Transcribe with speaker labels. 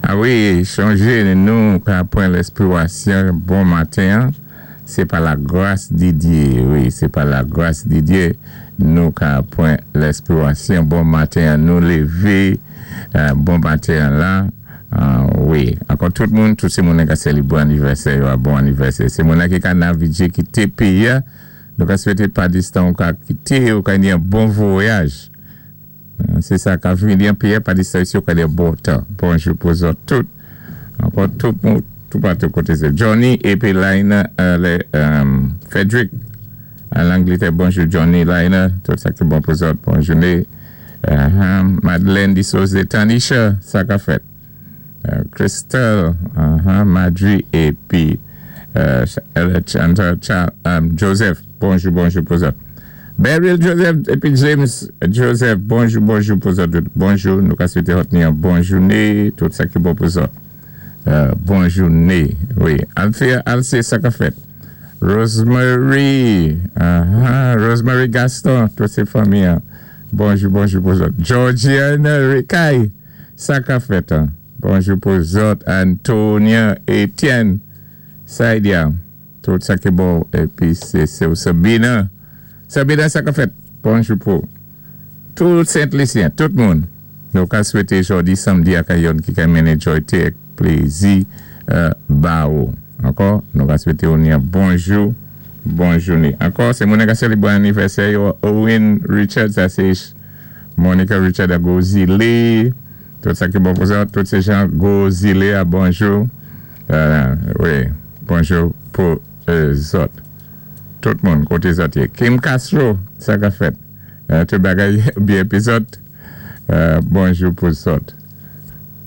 Speaker 1: A wi, sonjé nou ka pwan lèspiwasyon bon maten, sé pa la gras di Dye. Wi, sé pa la gras di Dye nou ka pwan lèspiwasyon bon maten, nou lévé bon maten la. Wi, ankò tout moun, tout sé moun ki sélébré anivèsè, bon anivèsè. Sé moun ki ka navigé kité péyi, nou ka swété pa distan ou ka kité ou ka ni yon bon vwayaj. Sé sa ka vini an péyi pa distan isi ou ka ni bon tan. Bonjou pou zòt tout. Ankò tout moun, tout patou koté sé Johnny épi Lina, Frederick an Langlétè. Bonjou Johnny, Lina, tout sa ki bon pou zòt. Bon jouné. Madeleine di Sose, Tanisha, sa ka fèt. Crystal, Madri épi Joseph, bonjou, bonjou pou zòt. Beryl Joseph épi James Joseph, bonjou, bonjou pou zòt. Bonjou, nou ka swété ni yon bon jouné, tout sa ki bon pou zòt. Bon jouné, wi. Althea Alcé, sa ka fèt. Rosemary, Rosemary Gaston, tout sé fanmi. Bonjou, bonjou pou zòt. Georgiana Ricaille, sa ka fèt. Bonjou pou zòt. Antonia Etienne, Saidia, tout sa ki bon. Épi sé Sabina. Sabina, sa ka fèt. Bonjou pou tout Sent-Lisyen, tout moun. Nou ka swété jòdi samdi ak youn ki ka mennen jòyté ak plézi ba ou. Ankò, nou ka swété ou ni bonjou, bon jouné. Ankò, sé moun ki sélébré anivèsè Owen Richard, sa sé Monica Richard à Gozile. Tout sa ki bon pou sa, tout sé jan Gozile a bonjou. Wi, bonjou pou zòt. Tout moun koté zòt yé. Kim Castro, sa ka fèt. Tout bagay byen épi zòt. Bonjou pou zòt.